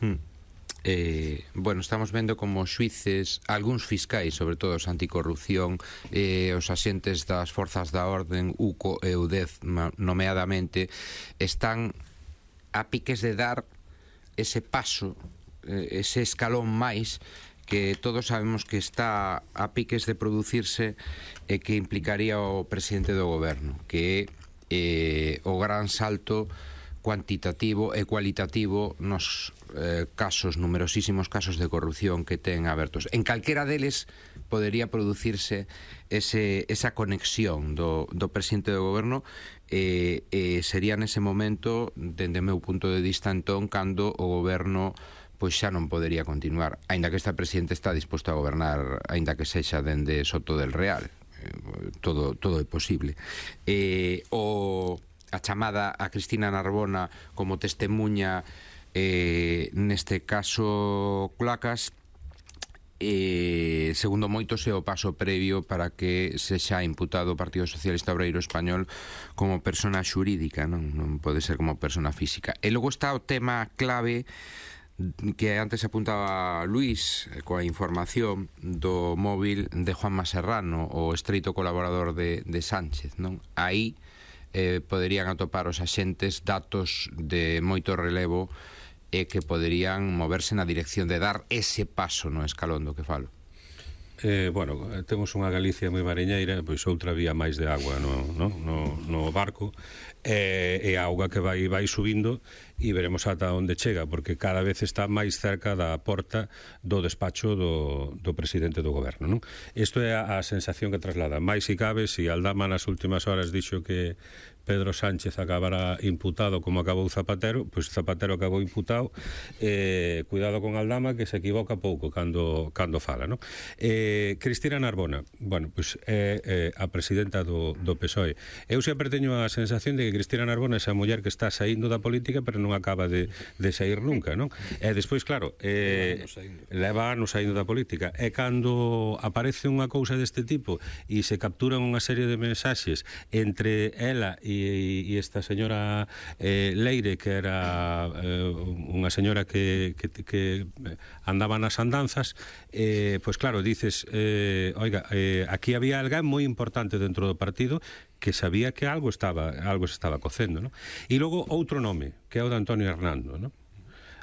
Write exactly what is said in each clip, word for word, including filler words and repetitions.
Hmm. Eh, bueno, estamos vendo como xuíces, algúns fiscais, sobre todo os anticorrupción, eh, os axentes das forzas da orden, U C O e U D E Z nomeadamente, están a piques de dar ese paso, eh, ese escalón máis que todos sabemos que está a piques de producirse e que implicaría o presidente do goberno, que é eh, o gran salto cuantitativo e cualitativo nos eh, casos, numerosísimos casos de corrupción que ten abertos. En calquera deles podería producirse ese, esa conexión do, do presidente do goberno e eh, eh, sería nese momento, dende o meu punto de vista entón, cando o goberno pois xa non podería continuar, aínda que este presidente está disposto a gobernar, aínda que sexa dende Soto del Real, eh, todo, todo é posible. Eh, o a chamada a Cristina Narbona como testemunha eh, neste caso Clacas, eh, segundo moitos é o paso previo para que sexa imputado o Partido Socialista Obreiro Español como persona xurídica, non, non pode ser como persona física. E logo está o tema clave que antes apuntaba Luís, coa información do móvil de Juanma Serrano, o estreito colaborador de, de Sánchez, non? Aí eh, poderían atopar os axentes datos de moito relevo e que poderían moverse na dirección de dar ese paso no escalón do que falo. Eh, bueno, temos unha Galicia moi mariñeira, pois outra vía máis de agua no, no, no, no barco, e, e a auga que vai, vai subindo, e veremos ata onde chega, porque cada vez está máis cerca da porta do despacho do, do presidente do goberno, non? Isto é a, a sensación que traslada. Mais si cabe, si Aldama nas últimas horas dixo que Pedro Sánchez acabará imputado como acabou Zapatero, pois Zapatero acabou imputado. Eh, cuidado con Aldama, que se equivoca pouco cando, cando fala, non? Eh, Cristina Narbona, bueno, pois é eh, a presidenta do, do P S O E. Eu sempre teño a sensación de que Cristina Narbona é esa muller que está saindo da política, pero non acaba de, de sair nunca, non? E despois, claro, eh, leva anos saindo da política, e cando aparece unha cousa deste tipo e se capturan unha serie de mensaxes entre ela e e esta señora eh, Leire, que era eh, unha señora que, que, que andaba nas andanzas, eh, pois claro, dices eh, oiga, eh, aquí había alguén moi importante dentro do partido que sabía que algo estaba algo se estaba cocendo, non? E logo outro nome, que é o de Antonio Hernando, non?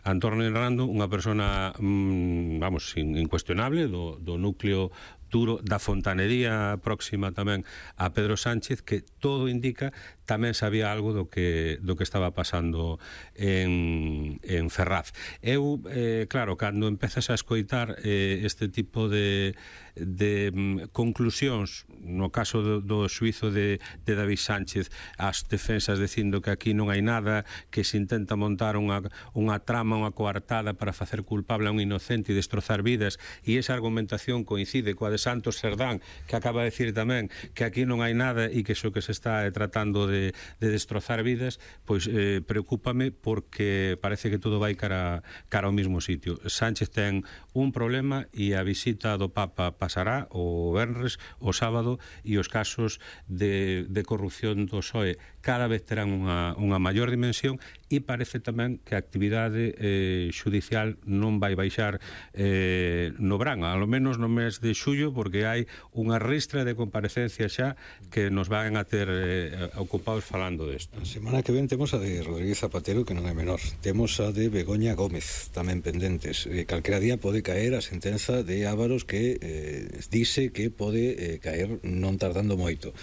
Antonio Hernando, unha persona mmm, vamos, incuestionable do, do núcleo duro da fontanería próxima tamén a Pedro Sánchez, que todo indica tamén sabía algo do que, do que estaba pasando en, en Ferraz. Eu, eh, claro, cando empezas a escoitar eh, este tipo de, de um, conclusións, no caso do, do suizo de, de David Sánchez, as defensas dicindo que aquí non hai nada, que se intenta montar unha, unha trama, unha coartada para facer culpable a un inocente e destrozar vidas, e esa argumentación coincide coa de Santos Serdán, que acaba de decir tamén que aquí non hai nada e que iso que se está tratando de De, de destrozar vidas, pois eh, preocúpame, porque parece que todo vai cara, cara ao mismo sitio. Sánchez ten un problema e a visita do Papa pasará o venres, o sábado, e os casos de, de corrupción do P S O E cada vez terán unha, unha maior dimensión, e parece tamén que a actividade eh, xudicial non vai baixar eh, no verán, ao menos no mes de xullo, porque hai unha ristra de comparecencia xa que nos van a ter eh, ocupados falando desto. A semana que ven temos a de Rodríguez Zapatero, que non é menor. Temos a de Begoña Gómez, tamén pendentes. Eh, calquera día pode caer a sentenza de Ávaros, que eh, dice que pode eh, caer non tardando moito.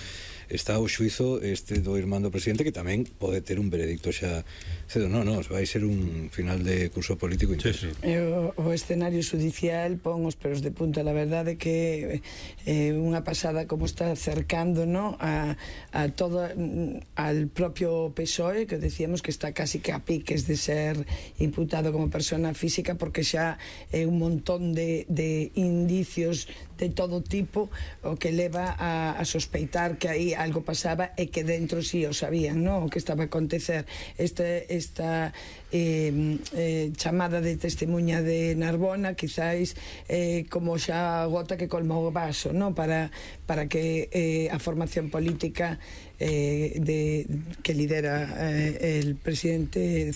Está o xuizo este do irmán do presidente, que tamén pode ter un veredicto xa cedo. Non, non, vai ser un final de curso político intenso. Sí, sí. O, o escenario judicial pon os pelos de punta. La verdade que eh, unha pasada como está cercando, ¿no?, a, a todo, al propio P S O E, que decíamos que está casi que a piques de ser imputado como persona física, porque xa é un montón de, de indicios de todo tipo o que leva a, a sospeitar que aí algo pasaba e que dentro sí o sabían, ¿no?, o que estaba a acontecer. Este, esta eh, eh, chamada de testemunha de Narbona quizáis eh, como xa gota que colmou o vaso, ¿no?, para, para que eh, a formación política eh, de, que lidera eh, el presidente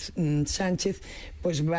Sánchez, pues vai